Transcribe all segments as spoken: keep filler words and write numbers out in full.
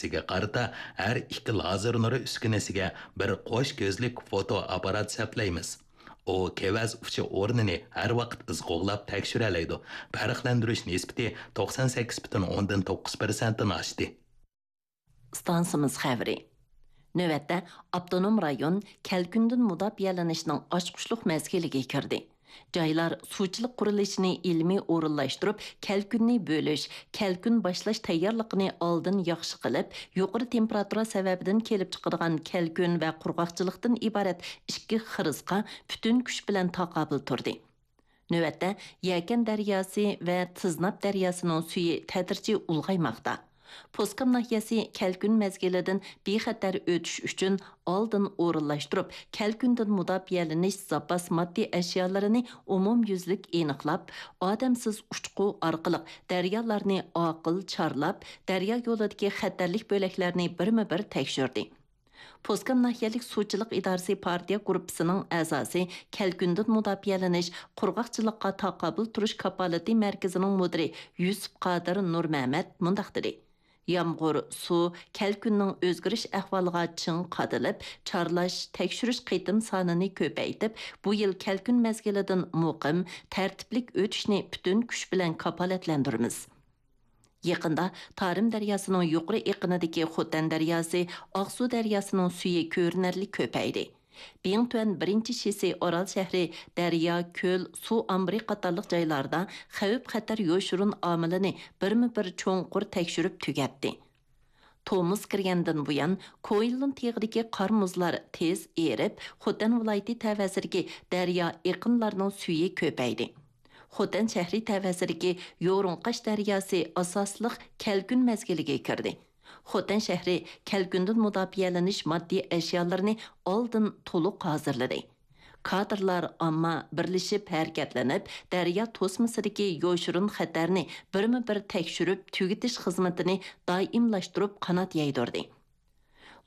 ئۈسكۈنىسىگە قارىتا ھەر ئىككى لازېر نۇرى ئۈسكۈنىسىگە بىر قوش كۆزلۈك فوتو ئاپپارات سەپلەيمىز. ئۇ كېۋەز ئۇچى ئورنىنى ھەر ۋاقىت ئىز قوغلاپ تەكشۈرەلەيدۇ. پەرقلەندۈرۈش نىسبىتى توقسان سەككىز پۈتۈن ئوندىن توققۇز پىرسەنتتىن ئاشتى. ئىستانسىمىز خەۋىرى. نۆۋەتتە ئاپتونوم رايون كەلكۈندىن مۇداپىئەلىنىشنىڭ ئاچقۇچلۇق مەزگىلىگە كىردى. جايلار سۇچىلىق قۇرۇلۇشىنى ئىلمىي ئورۇنلاشتۇرۇپ، كەلكۈننى بۆلۈش، كەلكۈن باشلاش تەييارلىقىنى ئالدىن ياخشى قىلىپ، يۇقىرى تېمپېراتۇرا سەۋەبىدىن كېلىپ چىقىدىغان كەلكۈن ۋە قۇرغاقچىلىقتىن ئىبارەت ئىككى خىرىسقا پۈتۈن كۈچ بىلەن تاقابىل تۇردى. نۆۋەتتە، يەكەن دەرياسى ۋە تىزناپ دەرياسىنىڭ سۈيى تەدرىجىي ئۇلغايماقتا. پوسكام ناھىيەسى كەلكۈن مەزگىلىدىن بىخەتەر ئۆتۈش ئۈچۈن ئالدىن ئورۇنلاشتۇرۇپ، كەلكۈندىن مۇداپىئەلىنىش زاپاس ماددىي ئەشيالىرىنى ئومۇميۈزلۈك ئېنىقلاپ، ئادەمسىز ئۇچقۇ ئارقىلىق دەريالارنى ئاقىل چارلاپ، دەريا يولىدىكى خەتەرلىك بۆلەكلەرنى بىرمۇ بىر تەكشۈردى. پوسكام ناھىيەلىك سۇچىلىق ئىدارىسى پارتىيە گۇرۇپپىسىنىڭ ئەزاسى، كەلكۈندىن مۇداپىئەلىنىش، قۇرغاقچىلىققا تاقابىل تۇرۇش كاپالىتى مەركىزىنىڭ مۇدىرى يۈسۈپ قادىر نۇرمەمەت مۇنداق دېدى: يامغۇر، سۇ، كەلكۈننىڭ ئۆزگىرىش ئەھۋالىغا چىڭ قادىلىپ، چارلاش، تەكشۈرۈش قېتىم سانىنى كۆپەيتىپ، بۇ يىل كەلكۈن مەزگىلىدىن مۇقىم، تەرتىپلىك ئۆتۈشنى پۈتۈن كۈچ بىلەن كاپالەتلەندۈرىمىز. يېقىندا تارىم دەرياسىنىڭ يۇقىرى ئېقىنىدىكى خوتەن دەرياسى، ئاقسۇ دەرياسىنىڭ سۈيى كۆرۈنەرلىك كۆپەيدى. بىڭتۈەن بىرىنچى شىسى ئارال شەھىرى دەريا، كۆل، سۇ ئامبىرى قاتارلىق جايلاردا خەۋپ-خەتەر يوشۇرۇن ئامىلىنى بىرمۇ بىر چوڭقۇر تەكشۈرۈپ تۈگەتتى. تومۇز كىرگەندىن بۇيان، كوئىنلۇن تېغىدىكى قار-مۇزلار تېز ئېرىپ، خوتەن ۋىلايىتى تەۋەسىدىكى دەريا ئېقىنلارنىڭ سۈيى كۆپەيدى. خوتەن شەھىرى تەۋەسىدىكى يورۇڭقاش دەرياسى ئاساسلىق كەلكۈن مەزگىلىگە كىردى. خوتەن شەھىرى كەلكۈندىن مۇداپىئەلىنىش ماددىي ئەشيالىرىنى ئالدىن تولۇق ھازىرلىدى. كادىرلار، ئامما بىرلىشىپ ھەرىكەتلىنىپ، دەريا توسمىسىدىكى يوشۇرۇن خەتەرنى بىرمۇ بىر تەكشۈرۈپ تۈگىتىش خىزمىتىنى دائىملاشتۇرۇپ قانات يايدۇردى.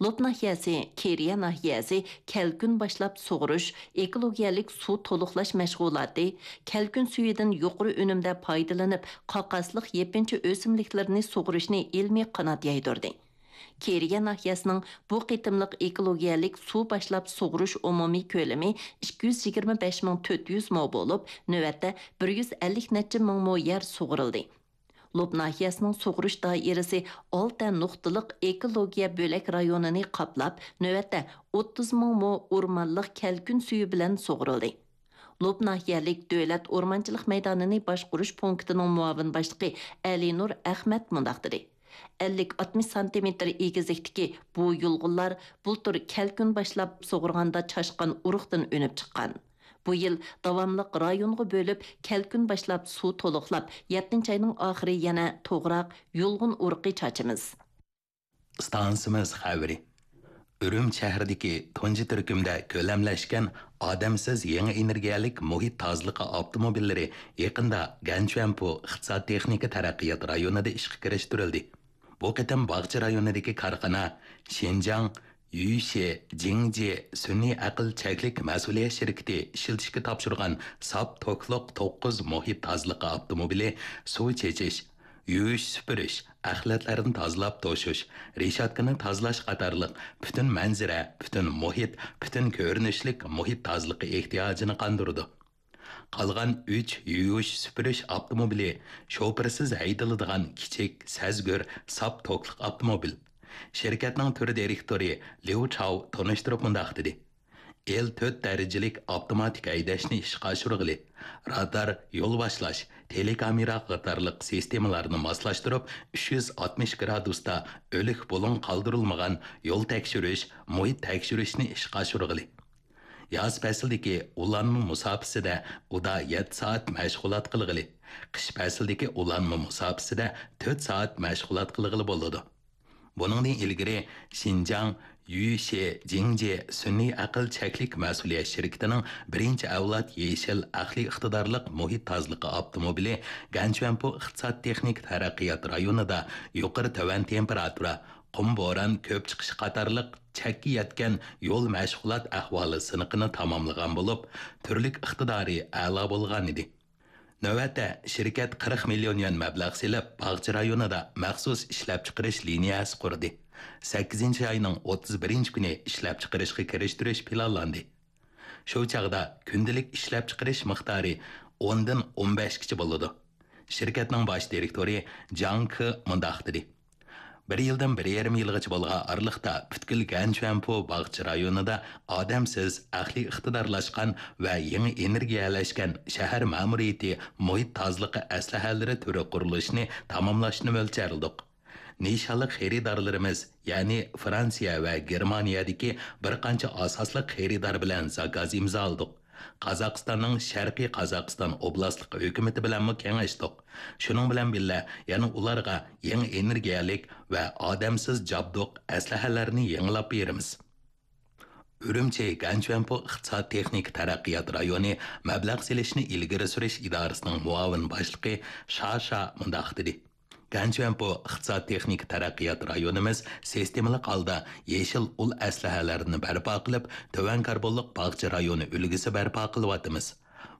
لوپ ناھىيەسى، كېرىيە ناھىيەسى كەلكۈن باشلاپ سۇغۇرۇش، ئېكولوگىيەلىك سۇ تولۇقلاش مەشغۇلاتى، كەلكۈن سۈيىدىن يۇقىرى ئۈنۈمدە پايدىلىنىپ، قاقاسلىق يېپىنچا ئۆسۈملۈكلىرىنى سۇغۇرۇشنى ئىلمىي قانات يايدۇردى. كېرىيە ناھىيەسىنىڭ بۇ قېتىملىق ئېكولوگىيەلىك سۇ باشلاپ سۇغۇرۇش ئومۇمىي كۆلىمى ئىككى يۈز يىگىرمە بەش مىڭ تۆت يۈز مو بولۇپ، نۆۋەتتە بىر يۈز ئەللىك نەچچە مىڭ مو يەر سۇغۇرۇلدى. لوپ ناھىيەسىنىڭ سۇغۇرۇش دائىرىسى ئالتە نۇقتىلىق ئېكولوگىيە بۆلەك رايونىنى قاپلاپ، نۆۋەتتە ئوتتۇز مىڭ مو ئورمانلىق كەلكۈن سۈيى بىلەن سۇغۇرۇلدى. لوپ ناھىيەلىك دۆلەت ئورمانچىلىق مەيدانىنى باشقۇرۇش پونكىتىنىڭ مۇئاۋىن باشلىقى ئەلىنۇر ئەخمەت مۇنداق دېدى: ئەللىك ئاتمىش سانتىمېتىر ئېگىزلىكتىكى بۇ يۇلغۇنلار بۇلتۇر كەلكۈن باشلاپ سۇغۇرغاندا چاشقان ئۇرۇقتىن ئۈنۈپ چىققان. بۇ يىل داۋاملىق رايونغا بۆلۈپ، كەلكۈن باشلاپ سۇ تولۇقلاپ، يەتتىنچى ئاينىڭ ئاخىرى يەنە توغراق، يۇلغۇن ئۇرۇقى چاچىمىز. ئىستانسىمىز خەۋىرى. ئۈرۈمچى شەھىرىدىكى تۇنجى تۈركۈمدە كۆلەملەشكەن ئادەمسىز يېڭى ئېنېرگىيەلىك مۇھىت تازىلىقى ئاپتوموبىللىرى يېقىندا گەنچۈەنپۇ ئىقتىساد تېخنىكا تەرەققىيات رايونىدا ئىشقا كىرىشتۈرۈلدى. بۇ قېتىم باغچە رايونىدىكى كارخانا شىنجاڭ يۈيشې جىڭجې سۈنئىي ئەقىل چەكلىك مەسئۇلىيەت شىركىتى ئىشلىتىشكە تاپشۇرغان ساپ توكلۇق توققۇز مۇھىت تازىلىقى ئاپتوموبىلى سۇ چېچىش، يۇيۇش سۈپۈرۈش، ئەخلەتلەردىن تازىلاپ توشۇش، رېشاتكىنى تازىلاش قاتارلىق پۈتۈن مەنزىرە، پۈتۈن مۇھىت، پۈتۈن كۆرۈنۈشلۈك مۇھىت تازىلىقى ئېھتىياجىنى قاندۇرىدۇ. قالغان ئۈچ يۇيۇش سۈپۈرۈش ئاپتوموبىلى شوپۇرسىز ھەيدىلىدىغان كىچىك، سەزگۈر، ساپ توكلۇق ئاپتوموبىل. شىركەتنىڭ تۈر دىرېكتورى ليۇ چاۋ تونۇشتۇرۇپ مۇنداق دېدى: ئېل تۆت دەرىجىلىك ئاپتوماتىك ھەيدەشنى ئىشقا ئاشۇرغىلى، رادار، يول باشلاش، تېلېكامېرا قاتارلىق سىستېمىلارنى ماسلاشتۇرۇپ، ئۈچ يۈز ئاتمىش گرادۇستا ئۆلۈك بۇلۇڭ قالدۇرۇلمىغان يول تەكشۈرۈش، مۇھىت تەكشۈرۈشنى ئىشقا ئاشۇرغىلى. ياز پەسلىدىكى ئۇلانما مۇساپىسىدە ئۇدا يەتتە سائەت مەشغۇلات قىلغىلى، قىش پەسلىدىكى ئۇلانما مۇساپىسىدە تۆت سائەت مەشغۇلات قىلغىلى بولىدۇ. بۇنىڭدىن ئىلگىرى شىنجاڭ يۈيشې جىڭجې سۈنئىي ئەقىل چەكلىك مەسئۇلىيەت شىركىتىنىڭ بىرىنچى ئەۋلاد يېشىل ئەقلىي ئىقتىدارلىق مۇھىت تازىلىقى ئاپتوموبىلى گەنچۈەنپۇ ئىقتىساد تېخنىكا تەرەققىيات رايونىدا يۇقىرى تۆۋەن تېمپېراتۇرا، قۇم بوران كۆپ چىقىشى قاتارلىق چەككە يەتكەن يول مەشغۇلات ئەھۋالى سىنىقىنى تاماملىغان بولۇپ، تۈرلۈك ئىقتىدارى ئەلا بولغانىدى. نۆۋەتتە شىركەت قىرىق مىليون يۈەن مەبلەغ سېلىپ، باغچە رايونىدا مەخسۇس ئىشلەپچىقىرىش لىنىيەسى قۇردى. سەككىزىنچى ئاينىڭ ئوتتۇز بىرىنچى كۈنى ئىشلەپچىقىرىشقا كىرىشتۈرۈش پىلانلاندى. شۇ چاغدا كۈندىلىك ئىشلەپچىقىرىش مىقدارى ئوندىن ئون بەشكىچە بولىدۇ. شىركەتنىڭ باش دىرېكتورى جاڭ كې مۇنداق دېدى: «بىر يىلدىن بىر يېرىم يىلغىچە بولغان ئارىلىقتا پۈتكۈل گەنچۈەنپو باغچە رايونىدا ئادەمسىز، ئەقلىي ئىقتىدارلاشقان ۋە يېڭى ئېنېرگىيەلەشكەن شەھەر مەمۇرىيىتى مۇھىت تازىلىقى ئەسلىھەلىرى تۈرى قۇرۇلۇشىنى تاماملاشنى مۆلچەرلىدۇق. نىشانلىق خېرىدارلىرىمىز، يەنى فرانسىيە ۋە گېرمانىيەدىكى بىر قانچە ئاساسلىق خېرىدار بىلەن زاكاز ئىمزالىدۇق. قازاقىستاننىڭ شەرقىي قازاقىستان ئوبلاستلىق ھۆكۈمىتى بىلەنمۇ كېڭەشتۇق. شۇنىڭ بىلەن بىللە، يەنە ئۇلارغا يېڭى ئېنېرگىيەلىك ۋە ئادەمسىز جابدۇق ئەسلىھەلەرنى يېڭىلاپ بېرىمىز.» ئۈرۈمچى گەنچۈەنپو ئىقتىساد تېخنىكا تەرەققىيات رايونى مەبلەغ سېلىشنى ئىلگىرى سۈرۈش ئىدارىسىنىڭ مۇئاۋىن باشلىقى شا شا مۇنداق دېدى: «گەنچۈەنپو ئىقتىساد تېخنىكا تەرەققىيات رايونىمىز سىستېمىلىق ھالدا يېشىل ئۇل ئەسلىھەلەرنى بەرپا قىلىپ، تۆۋەن كاربونلۇق باغچە رايونى ئۈلگىسى بەرپا قىلىۋاتىمىز.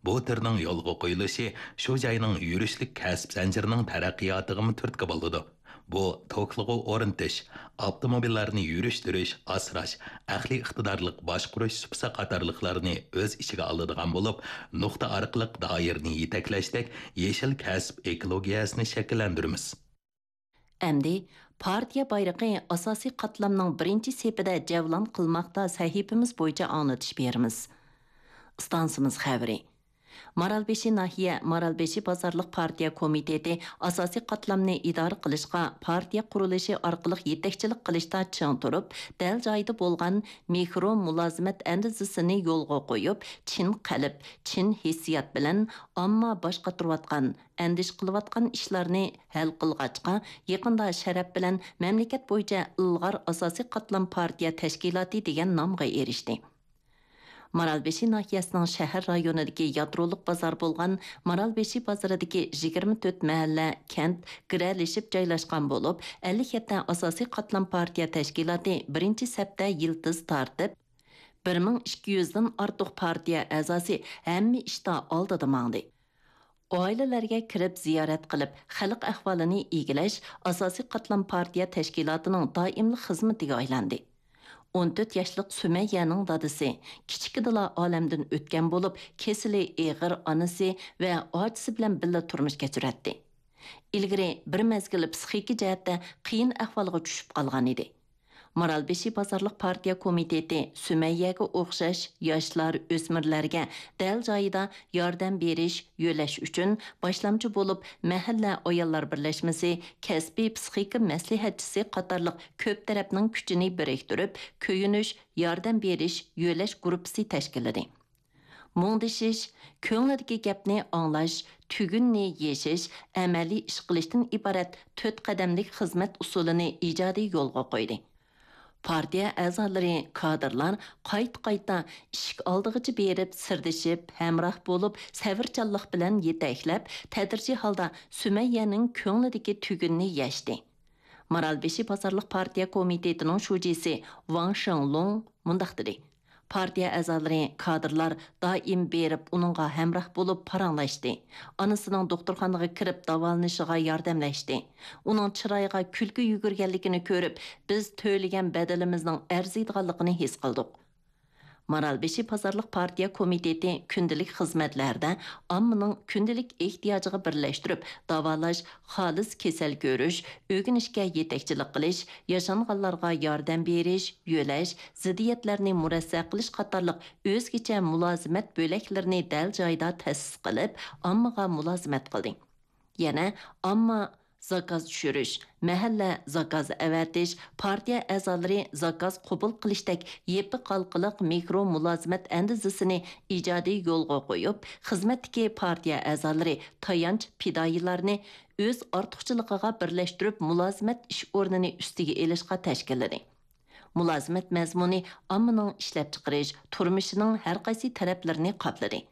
بۇ تۈرنىڭ يولغا قويۇلۇشى شۇ جاينىڭ يۈرۈشلۈك كەسىپ زەنجىرىنىڭ تەرەققىياتىغىمۇ تۈرتكە بولىدۇ. بۇ توكلىغۇ ئورنىتىش، ئاپتوموبىللارنى يۈرۈشتۈرۈش، ئاسراش، ئەقلىي ئىقتىدارلىق باشقۇرۇش سۇپىسى قاتارلىقلارنى ئۆز ئىچىگە ئالىدىغان بولۇپ، نۇقتا ئارقىلىق دائىرىنى يېتەكلەشتەك يېشىل كەسىپ ئېكولوگىيەسىنى شەكىللەندۈرىمىز.» ئەمدى پارتىيە بايرىقى ئاساسىي قاتلامنىڭ بىرىنچى سېپىدە جەۋلان قىلماقتا سەھىپىمىز بويىچە ئاڭلىتىش بېرىمىز. ئىستانسىمىز خەۋىرى. مارالبېشى ناھىيە مارالبېشى بازارلىق پارتىيە كومىتېتى ئاساسىي قاتلامنى ئىدارە قىلىشقا، پارتىيە قۇرۇلۇشى ئارقىلىق يېتەكچىلىك قىلىشتا چىڭ تۇرۇپ، دەل جايىدا بولغان مىكرو مۇلازىمەت ئەندىزىسىنى يولغا قويۇپ، چىن قەلب، چىن ھېسسىيات بىلەن ئامما باش قاتۇرۇۋاتقان، ئەندىشە قىلىۋاتقان ئىشلارنى ھەل قىلغاچقا، يېقىندا شەرەپ بىلەن مەملىكەت بويىچە ئىلغار ئاساسىي قاتلام پارتىيە تەشكىلاتى دېگەن نامغا ئېرىشتى. مارالبېشى ناھىيەسىنىڭ شەھەر رايونىدىكى يادرولۇق بازار بولغان مارالبېشى بازىرىدىكى يىگىرمە تۆت مەھەللە، كەنت گىرەلىشىپ جايلاشقان بولۇپ، ئەللىك يەتتە ئاساسىي قاتلام پارتىيە تەشكىلاتى بىرىنچى سەپتە يىلتىز تارتىپ، بىر مىڭ ئىككى يۈزدىن ئارتۇق پارتىيە ئەزاسى ھەممە ئىشتا ئالدىدا ماڭدى. ئائىلىلەرگە كىرىپ زىيارەت قىلىپ، خەلق ئەھۋالىنى ئىگىلەش ئاساسىي قاتلام پارتىيە تەشكىلاتىنىڭ دائىملىق خىزمىتىگە ئايلاندى. ئون تۆت ياشلىق سۈمەييەنىڭ دادىسى كىچىكىدىلا ئالەمدىن ئۆتكەن بولۇپ، كېسىلى ئېغىر ئانىسى ۋە ئاچىسى بىلەن بىللە تۇرمۇش كەچۈرەتتى. ئىلگىرى بىر مەزگىل پسىخىكا جەھەتتە قىيىن ئەھۋالغا چۈشۈپ قالغان ئىدى. مارالبېشى بازارلىق پارتىيە كومىتېتى سۈمەييەگە ئوخشاش ياشلار، ئۆسمۈرلەرگە دەل جايىدا ياردەم بېرىش، يۆلەش ئۈچۈن باشلامچى بولۇپ، مەھەللە ئاياللار بىرلەشمىسى، كەسپىي پسىخىكا مەسلىھەتچىسى قاتارلىق كۆپ تەرەپنىڭ كۈچىنى بىرىكتۈرۈپ، كۆيۈنۈش، ياردەم بېرىش، يۆلەش گۇرۇپپىسى تەشكىللىدى. مۇڭدىشىش، كۆڭلىدىكى گەپنى ئاڭلاش، تۈگۈننى يېشىش، ئەمەلىي ئىش قىلىشتىن ئىبارەت تۆت قەدەملىك خىزمەت ئۇسۇلىنى ئىجادىي يولغا قويدى. پارتىيە ئەزالىرى، كادىرلار قايتا-قايتا ئىشىك ئالدىغىچە بېرىپ، سىردىشىپ، ھەمراھ بولۇپ، سەۋرچانلىق بىلەن يېتەكلەپ، تەدرىجىي ھالدا سۈمەييەنىڭ كۆڭلىدىكى تۈگۈننى يەشتى. مارالبېشى بازارلىق پارتىيە كومىتېتىنىڭ شۇجىسى ۋاڭ شېڭلۇڭ مۇنداق دېدى: پارتىيە ئەزالىرى، كادىرلار دائىم بېرىپ ئۇنىڭغا ھەمراھ بولۇپ پاراڭلاشتى. ئانىسىنىڭ دوختۇرخانىغا كىرىپ داۋالىنىشىغا ياردەملەشتى. ئۇنىڭ چىرايىغا كۈلكە يۈگۈرگەنلىكىنى كۆرۈپ، بىز تۆلىگەن بەدىلىمىزنىڭ ئەرزىيدىغانلىقىنى ھېس قىلدۇق. مارالبېشى بازارلىق پارتىيە كومىتېتى كۈندىلىك خىزمەتلەردە ئاممىنىڭ كۈندىلىك ئېھتىياجىغا بىرلەشتۈرۈپ داۋالاش، خالىس كېسەل كۆرۈش، ئۆگىنىشكە يېتەكچىلىك قىلىش، ياشانغانلارغا ياردەم بېرىش، يۆلەش، زىددىيەتلەرنى مۇرەسسە قىلىش قاتارلىق ئۆزگىچە مۇلازىمەت بۆلەكلىرىنى دەل جايىدا تەسىس قىلىپ، ئاممىغا مۇلازىمەت قىلدى. يەنە ئامما زاكاز چۈشۈرۈش، مەھەللە زاكاز ئەۋەتىش، پارتىيە ئەزالىرى زاكاز قوبۇل قىلىشتەك يېپىق ھالقىلىق مىكرو مۇلازىمەت ئەندىزىسىنى ئىجادىي يولغا قويۇپ، خىزمەتتىكى پارتىيە ئەزالىرى تايانچ پىدائىيلارنى ئۆز ئارتۇقچىلىقىغا بىرلەشتۈرۈپ، مۇلازىمەت ئىش ئورنىنى ئۈستىگە ئېلىشقا تەشكىللىدى. مۇلازىمەت مەزمۇنى ئاممىنىڭ ئىشلەپچىقىرىش، تۇرمۇشىنىڭ ھەرقايسى تەرەپلىرىنى قاپلىدى.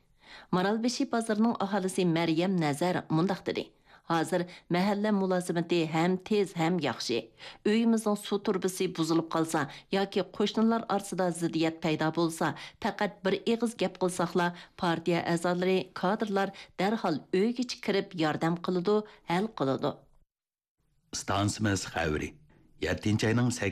مارالبېشى بازىرىنىڭ ئاھالىسى مەريەم نەزەر مۇنداق دېدى: ھازىر مەھەللە مۇلازىمىتى ھەم تېز، ھەم ياخشى. ئۆيىمىزنىڭ سۇ تۇرۇبىسى بۇزۇلۇپ قالسا ياكى قوشنىلار ئارىسىدا زىددىيەت پەيدا بولسا، پەقەت بىر ئېغىز گەپ قىلساقلا، پارتىيە ئەزالىرى، كادىرلار دەرھال ئۆيگىچە كىرىپ ياردەم قىلىدۇ، ھەل قىلىدۇ. ئىستانسىمىز خەۋىرى. يەتتىنچى ئاينىڭ سەككىزىنچى